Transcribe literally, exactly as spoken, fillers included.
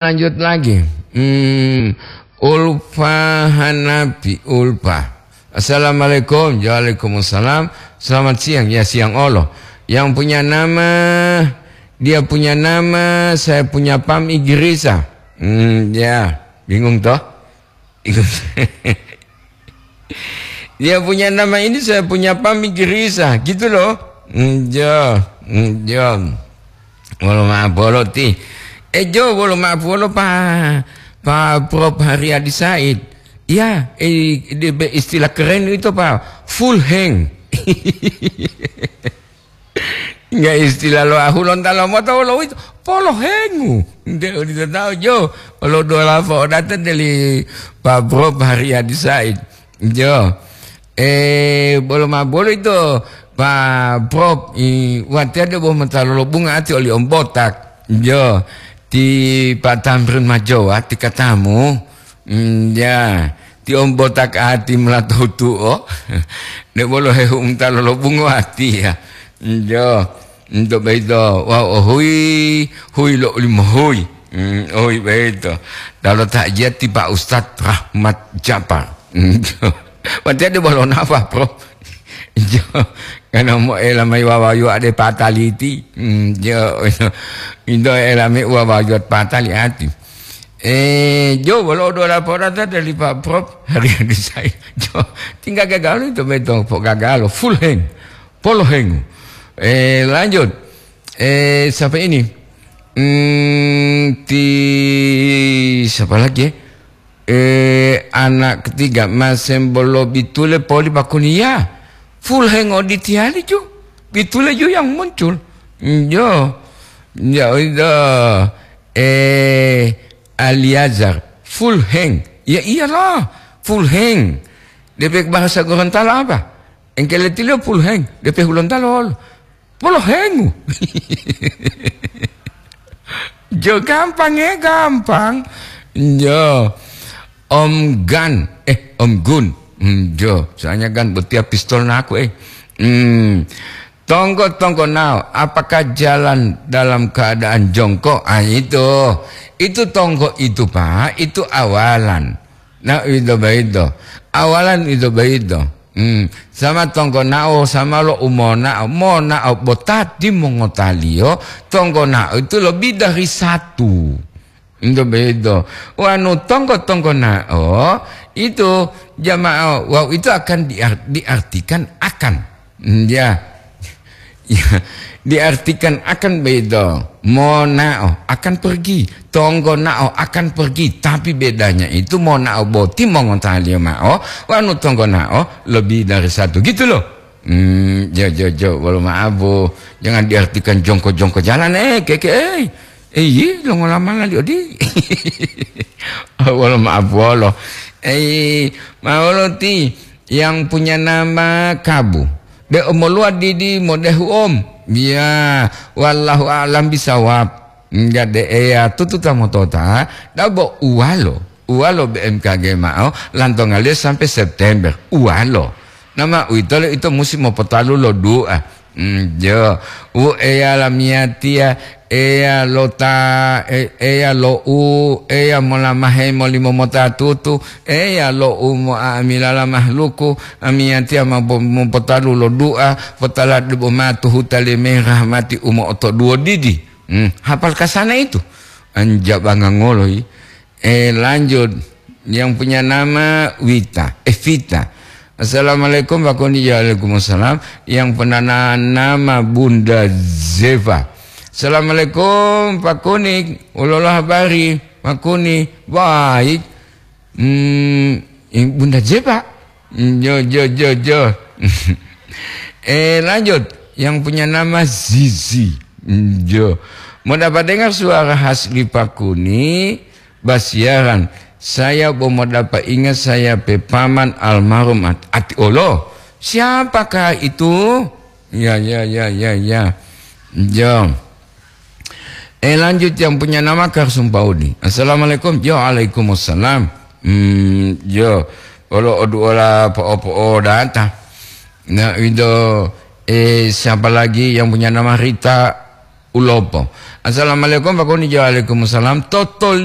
Lanjut lagi. Hmm, Ulfa Hanafi, Ulfa. Assalamualaikum. Waalaikumsalam. Selamat siang. Ya, siang olo. Yang punya nama, dia punya nama, saya punya pam Igrisa. Hmm, ya, bingung toh? Dia punya nama ini, saya punya pam Igrisa, gitu loh. Hmm, jo, hmm, jo. Wolo ma'o bolo ti. Eh, jo, wolo ma'o bolo pa, pa Prof Haryadi Said. Ya, eh, de-, be-, istilah keren itu, Pak. Full hang. Enggak, istilah lo ahu lonta lo mota wolo uwito, polohengu. Nte odito tahu jo, lo dola po odata deli Pak Prof Haryadi Said. Jo. Eh, bolo ma bolo ito, Pak Prof, i, watiya debo mota lolobunga ati oli ombotak. Jo. Ti Pak Tamrin Majowa, ti katamu. Mm, ya, ti ombotak ati melato tuo. Nek bolo hehu umta lolobungo ati ya. Mm, jo, untuk beito, wau ohui, hui lo limo hui. Mm, ohui beito. Dalo takjiat ti Pak Ustadz Rahmat Japar. Mm, jo. Berarti ada bolo napa, Bro? Jo, karena mo ela mai wawayu ade pataliti. Mm, jo, indo ela mai wawayu patali ati. Eh, jo, bolo do laporan tadi dari Pak Prof Haryadi Said. Jo, tinggal gagal itu betul, Pak, gagal, full hang, polo hengu. Eh, lanjut. Eh, siapa ini? Hmm, ti, siapa lagi ya? Eh, anak ketiga, masembolo bitule poli pakuniya. Full hang oditiyali ju. Bitule ju yang muncul. Jo. Ya, itu. Eh, Aliazar, full hang. Ya iyalah, full hang. D P bahasa Gorontalo apa? Engkele tilio full hang, D P Hulontalo. Polo hengu. Jo, gampang ya, gampang. Jo. Om Gan, eh, Om Gun. Hmm, jo, soalnya Gan botia pistol naku, eh. Hmm. Tonggo-tonggo nao, apakah jalan dalam keadaan jongkok? Ah, itu. Itu tonggo itu, Pak, itu awalan. Nah, itu begitu. Awalan itu begitu. Hmm. Sama tonggo nao, sama lo umonao. Monao botati mongotaliyo, tonggo nao itu lebih dari satu. Itu begitu. Wanu tonggo-tonggo nao, itu jamaah, wau itu akan diar-, diartikan akan. Hmm, ya. Ya, diartikan akan begitu. Monao akan pergi. Tonggo nao akan pergi. Tapi bedanya itu monao boti mongotaliyo mao, wanu tonggo nao lebih dari satu. Gitu loh. Hmm, jo, jo, jo, bolo maabu. Jangan diartikan jongko-jongko jalan, eh, keke, eh. Eh, yi, longola mala li odi. Wolo maabu wolo. Eh, mawolo ti yang punya nama Kabu. De omoluwa didi modehu om. Ya, wallahu a'lam bisawab. Enggak de eya tutu tamotota, dabo uwalo. Uwalo B M K G mao, lantongaliyo sampai September. Uwalo. Nama uwitolo ito musi mopotalu lo du'a. Mm, jo. U Eya lamiyatiya, Eya lo ta, e-, Eya lo u, Eya molamahe molimo mota tutu, Eya lo u mo'amilala mahluku, amiyatiya ma bo-, mopotalu lo du'a, potala debo matu huta leme rahmati u mo'otoduwo didi. Mm, hapal kasana itu. Anjabanga ngolo yi. Eh, lanjut. Yang punya nama Wita. Eh, Vita. Assalamualaikum, Pak Koni. Waalaikumsalam. Yang punya na-, nama Bunda Zeva. Assalamualaikum, Pak Koni. Ulolo habari, Pak Koni. Baik. Hmm, Bunda Zeva. Jo, jo, jo, jo. Eh, lanjut. Yang punya nama Zizi. Jo. Mau dapat dengar suara khas di Pak Koni? Basiaran, saya bo modapa ingat saya pe paman almarhum at-, ati olo. Siapakah itu? Ya, ya, ya, ya, ya. Jo. Eh, lanjut yang punya nama Karsum Paudi. Assalamualaikum. Jo, waalaikumsalam. Hmm, jo. Olo oduola po-, po-, data. Nah, itu, eh, siapa lagi yang punya nama Rita Ulopo? Assalamualaikum, Pak Koni. Jo, waalaikumsalam. Totol